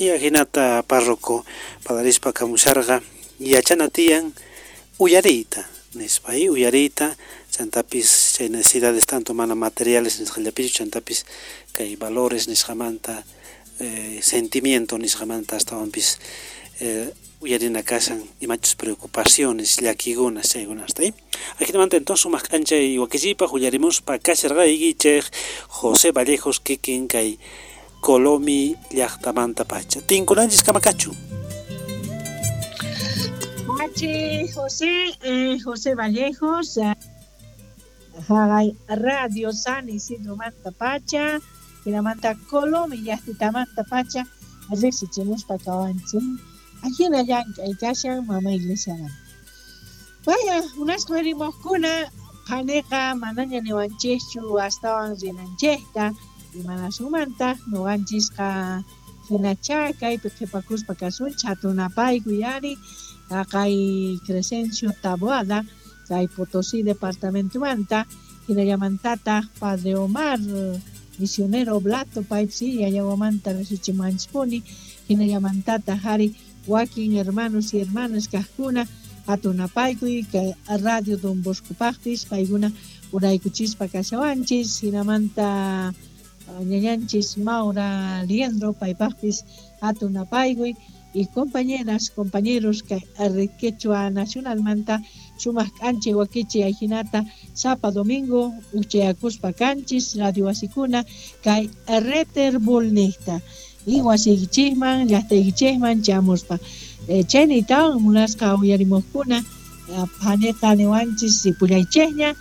Y ajinata párroco padarispa kamusharqa yachana tiyan uyariyta nispa, y uyariyta chantapis chay necesidades tanto mana materiales nisqallapichu, chantapis kay valores nisqamanta, sentimiento nisqamanta astawanpis uyarina kashan imachus preocupaciones, llakikunas chaykunasta. Ajinamanta entonces sumaq k'anchay wakichiypaq uyarimuspa kasharqaykichik José Vallejos kikin kay Colomi llaqtamanta pacha. Tinkunanchis kamakachu. H. José, José Vallejos, haqay Radio San Isidro manta pacha, hinamanta Colomi llaqtitamanta pacha, riqsichimuspa kawanchik. Ajina llank'ay kashan mama iglesiamanta. Vaya, unasqa rimuqkuna phaniqa manaña niwanchikchu astawan rinanchikta, imanasumantaq nuqanchisqa hinacha kaypi qhipakuspa kasunchik hatunapaykuy ari haqay Crescencio Taboada kay Potosí departamentomanta, hinallamantataq Padre Omar misionero oblato paypis yayawamanta riqsichimuwanchispuni, hinallamantataq ari wakin hermanos y hermanas kaqkuna hatunapaykuy kay Radio Don Boscopaqpis paykuna uraykuchispa kashawanchis, hinamanta ñañanchis Maura Liendro paypaqpis hatunapaykuy y compañeras, compañeros kay Red Quechua Nacionalmanta sumaq k'anchay wakichi ajinata sapa domingo uchayakuspa kanchis radio wasikuna kay Reterbulniqta y wasiykichikman llaqtaykichikman chamuspa. Chaynitawan munasqa uyarimuqkuna phaniqa niwanchis ripullaychikña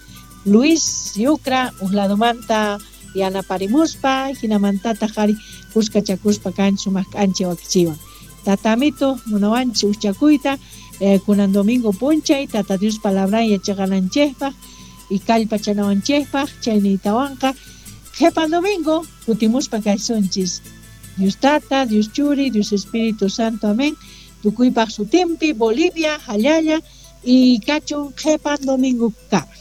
Luis Yucra uq ladomanta yanaparimuspa hinamantataq ari kuskachakuspa kanchis sumaq k'anchay wakichiwan. Tatamito munawanchis uchakuyta kunan domingo punchay Tata Dios palabran yachaqananchikpaq y kallpachanawanchikpaq chayniytawanqa qhipan domingo kutimuspa kaysunchis. Dios Tata, Dios Churi, Dios Espíritu Santo, amén. Tukuypaq sutinpi, Bolivia, Jallalla y kachun qhipan domingo kama.